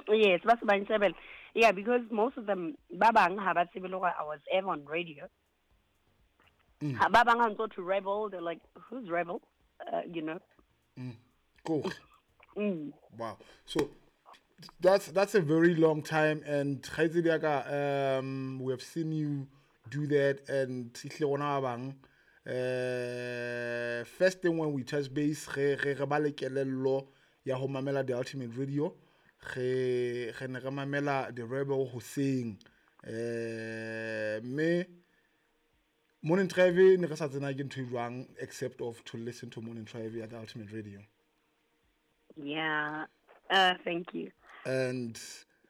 Yes, ba se ba nshebela. Yeah, because most of them, ba bang ha ba tsebe le hore I was ever on radio. Ha ba bang ha ntso to Rebel, they're like, "Who's Rebel?" Kore. Wow. So that's a very long time, and kgaitsedi ya ka, we have seen you do that, and ehlile rona ba bang, first thing when we touch base, re ba le kelello ya ho mamela The Ultimate Radio, re ne re mamela The Rebel hoseng, mme Morning Drive ne re sa tsena ke ntho e jwang except of to listen to Morning Drive at The Ultimate Radio. Yeah, thank you. And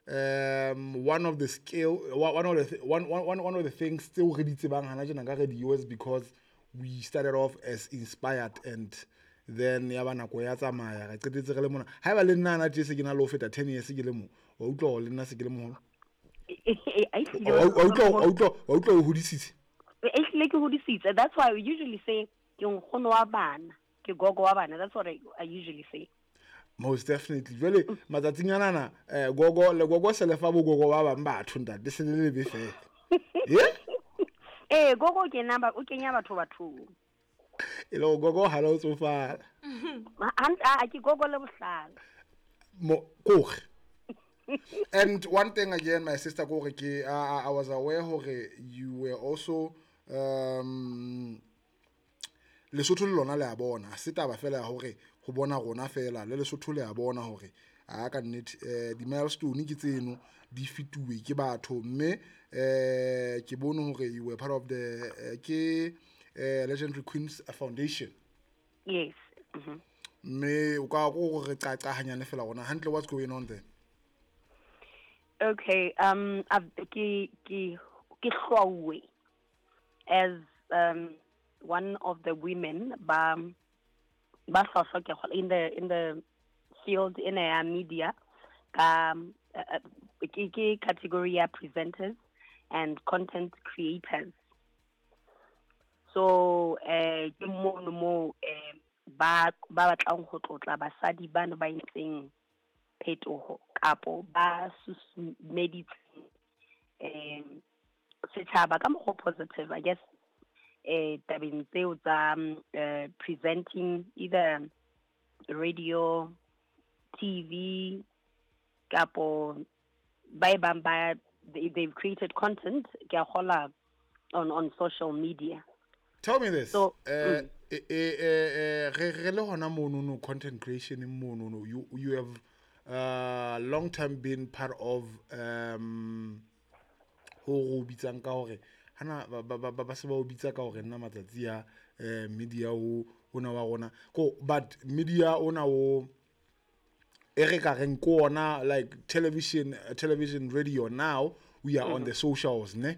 one of the skill, one of the one, one, one, one of the things still re di tsebang hana tjena ka radio is because we started off as inspired, and then ya ba nako ya tsamaya, re qetetse re le mona. Haeba le nna hana tje se ke na le ho feta 10 years ke le mo, wa utlwa hore le nna se ke le moholo? Wa utlwa o hodisitse? Ehlile ke hodisitse. That's why we usually say ke nkgono wa bana, ke gogo wa bana. That's what I usually say. Most definitely. Jwale matsatsing ana, gogo le gogo se le fa bo gogo ba bang batho ntate, se le lebe fela. Yeah? Gogo ke nna ba, o kenya batho bathong. E le gogo ha le tsofala. Ha, ke gogo le bohlale. Mo, kore. And one thing again, my sister kore ke, I was aware hore you were also, Lesotho le lona le a bona, ha se taba fela ya hore ho bona rona fela, le Lesotho le a bona hore a ka nnete, di-milestone ke tseno di fetuwe ke batho, mme, ke bone hore you were part of the, ke, Legendary Queens Foundation. Yes. Mme o ka go re qaqa hanyane fela rona hantle, what's going on there? Okay, ke hlwauwe as one of the women ba hlwahlwa ke kgola in the field in ya media ka, ke category ya presenters and content creators. So, ke mono mo, ba batlang ho tlotla basadi bano ba entseng phetoho kapo ba susumeditseng, setjhaba ka mokgwa o positive, I guess, tabeng tseo tsa, presenting either radio, TV, kapo ba e bang ba, they've created content ke a kgola on social media. Tell me this. So, re le hona mono no content creation mono no, you have long time been part of, ho re o bitsang ka hore hana ba se ba o bitsa ka hore nna matsatsi a, media o ona wa rona. Ko, but media ona o e re ka reng ko ona, like television, radio, now we are on the socials, ne?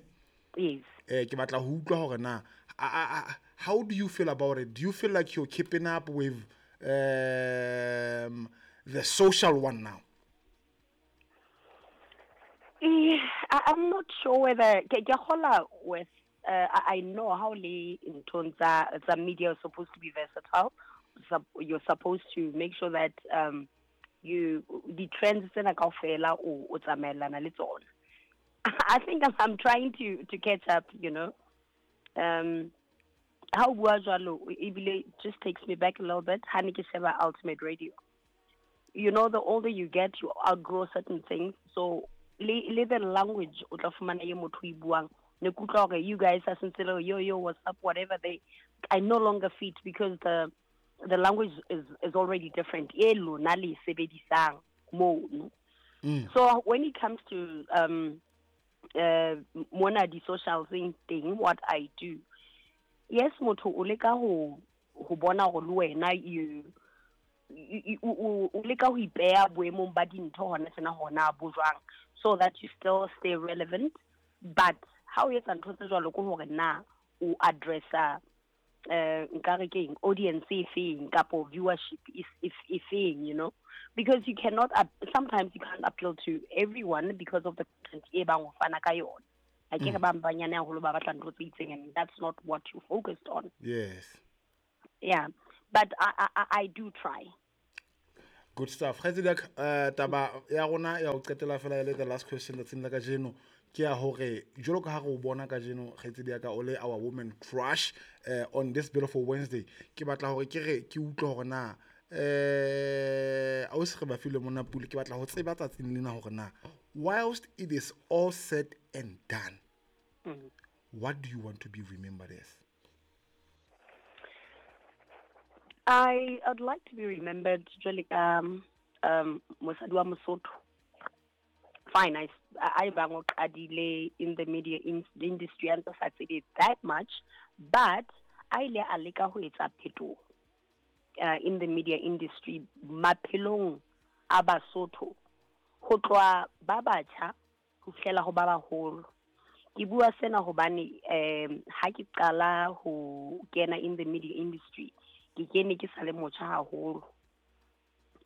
Yes. Ke batla ho utlwa hore na, how do you feel about it? Do you feel like you're keeping up with the social one now? I'm not sure whether ke kgola with, I know how le nthong tsa media is supposed to be versatile. You're supposed to make sure that, you the trends tsena kaofela o tsamaellana le tsona. I think I'm trying to catch up. Ha o bua jwalo, ebile it just takes me back a little bit. Ha ne ke sheba Ultimate Radio. The older you get, you outgrow certain things. So le the language o tla fumana ye motho e buang. Ne ke utlwa hore you guys are sentse le yo, yo, what's up, whatever they, I no longer fit because the language is already different. E lona le sebedisang mono. So when it comes to mona di social thing, what I do, yes, motho o leka ho bona hore le wena o leka ho ipeha boemong ba dintho hona tjena hona bo jwang, so that you still stay relevant. But ha o etsa ntho tse jwalo ke hore na o addressa, nka re keng, audience e feng kapo viewership e feng, because you cannot, sometimes you can't appeal to everyone because of the content e bang o fana ka yona. Ha ke re ba banyane haholo ba batla ntho tse itseng, and that's not what you focused on. Yes. Yeah, but I do try. Good stuff. Kgaitsedi ya ka, taba ya rona ya ho qetela fela e le the last question tsatsing la kajeno ke ya hore jwalo ka ha re o bona kajeno kgaitsedi ya ka o le our woman crush on this beautiful Wednesday, ke batla hore ke re ke utlwe hore na ausi re ba file mona pule, ke batla ho tseba tsatsing lena hore na whilst it is all said and done, what do you want to be remembered as? I'd like to be remembered jwale ka mosadi wa Mosotho. Fine, I bang o qadile in the media industry a ntse sa tsebe that much, but a ile a leka ho etsa phetoho in the media industry maphelong a Basotho, ho tloha ba batjha ho fihlela ho ba baholo. Ke bua sena hobane ha ke qala ho kena in the media industry, ke kene ke sa le motjha haholo,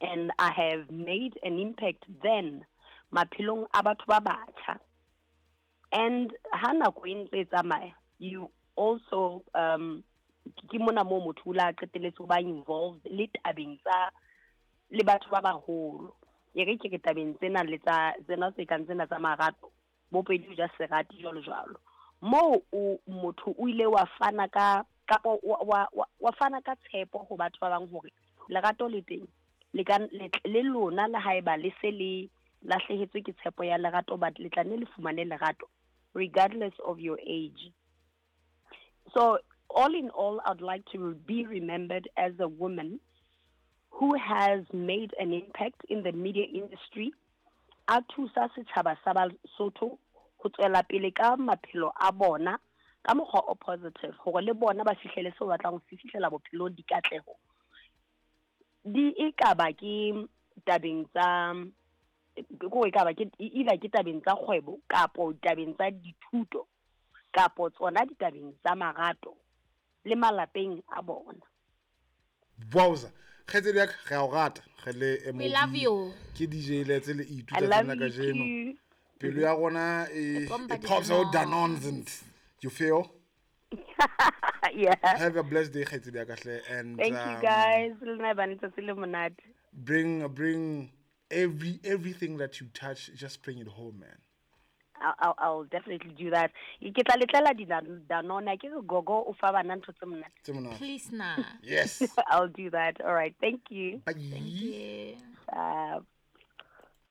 and I have made an impact then maphelong a batho ba batjha. And ha nako e ntse e tsamaya, you also ke mona moo motho o la qetelletse ho ba involved le tabeng tsa le batho ba baholo. E re ke re tabeng tsena le tsa tsena tse kang tsena tsa marato, bo pedi o ja serati jwalo jwalo. Moo o motho o ile wa fana ka kapa wa fana ka tshepo ho batho ba bang hore lerato le teng, le ka le lona le haeba le se le lahlehetswe ke tshepo ya lerato, but le tla nne le fumane lerato regardless of your age. So all in all, I'd like to be remembered as a woman who has made an impact in the media industry, a thusa setjhaba sa Basotho ho tswela pele ka maphelo a bona ka mokgwa o positive, hore le bona ba fihlele seo ba batlang ho se fihlela bophelong, dikatleho di e ka ba ke tabeng tsa ko e ka ba ke either ke tabeng tsa kgwebo kapo tabeng tsa dithuto kapo tsona ditabeng tsa marato le malapeng a bona. Wowza. Kgaitsedi ya ka, re a o rata. Re le We love MOB. you. Ke DJ Letse le I Itu tsatsing love la you kajeno. too. Pelo ya rona E e pompa pops out di-Danone. Danones and you feel? Yeah. Have a blessed day, kgaitsedi ya ka hle, and Thank you guys. Le nna ba letsatsi le monate. Bring everything that you touch, just bring it home, man. I'll definitely do that. Ke tla letlela di Danone. Ke re gogo o fa bana ntho tse monate. Tse monate. Please na. Yes. I'll do that. All right. Thank you. Bye. Thank you.